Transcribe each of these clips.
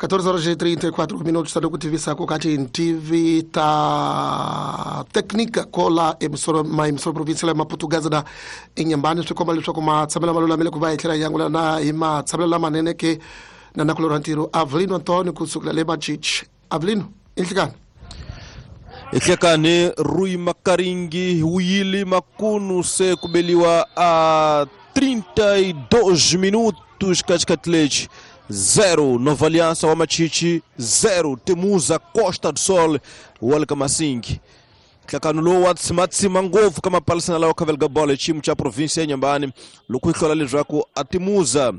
14 horas e 34 minutos tado ku tivisa ku ka tintivi ta técnica kola emissora ma emissora provincial ya Maputo Gazeta enyambani swi komba leswaku matshamelo ma lulamile ku va hi tlhela hi angula na hi matshamelo lamanene ke na nakulorha ntirho Avelino Antonio kusukela le Machichi. Avelino, inhlikani. Ihlekani Rui Makaringi wuyili makunu se kubeliwa a 32 minutos katikati lexi 0 Nova Aliança wa Machichi 0 Temuza Costa do Sol wa le ka Masingi. Nhlakano lowu wa tsimatsima ngopfu ka mapalisana lawa khavelaka bolo hi xiyimo xa province ya Nyambani loko yi hlola leswaku a Temuza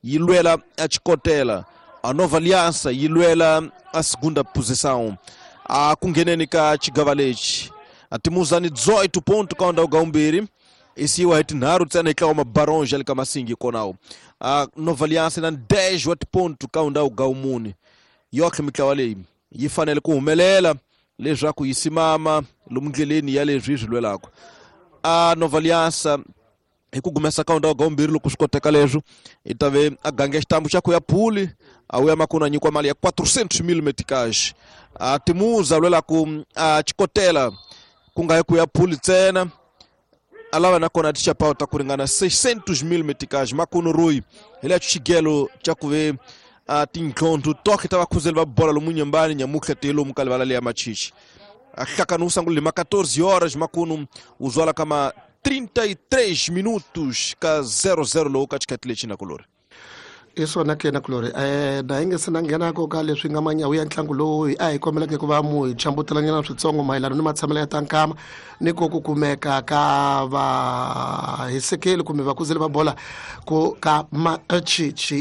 yi lwela a Chikotela, a Nova Aliança yi lwela a segunda posição. A ku ngheneni ka xigava lexi a Temuza ni 18 ponto ka ndhawu ga vumbirhi i siyiwa hi tinharhu ntsena hi tlawa mabaronge ya le ka Masingi konawo. A Nova Aliança na 10 wa tiponto ka ndhawu ga vumune. Yohle mitlawa leyi yi fanele ku humelela leswaku yi simama lomu ndleleni ya leswi yi swi lwelaka. A Nova Aliança hi ku gumesa ka ndhawu ga vumbirhi loko swi koteka leswo i ta ve a gange xitambu xa ku ya phuli a wuya makunu a nyikiwa mali ya 400 mil meticage. A Timuza lwela ku a Chikotela ku nga yi ku ya phuli ntsena a lava nakona tixapawu ta ku ringana 600 mil meticage. Makunu Rui hi lecho xigelo xa ku ve a tintlhontho toke ta vakhuzeli va bola lomu Nyambani nyamutlha te lomu ka livala leya Machichi. A hlakano wu sangulile ma 14 horas makunu wu zwala ka ma 33 minutos ka 00 lowu ka xikhathi lexi na kulori. I swona ke na kulori na hi nge se na nghenako ka leswi nga manyawu ya ntlangu lowu a hi kombeleke ku va mu hi chambutelanyana switsongo mayelana ni matshamelo ya ta nkama ni ko ku kumeka ka vahisekeli kumbe vakuzeli va bola ku ka Machichi.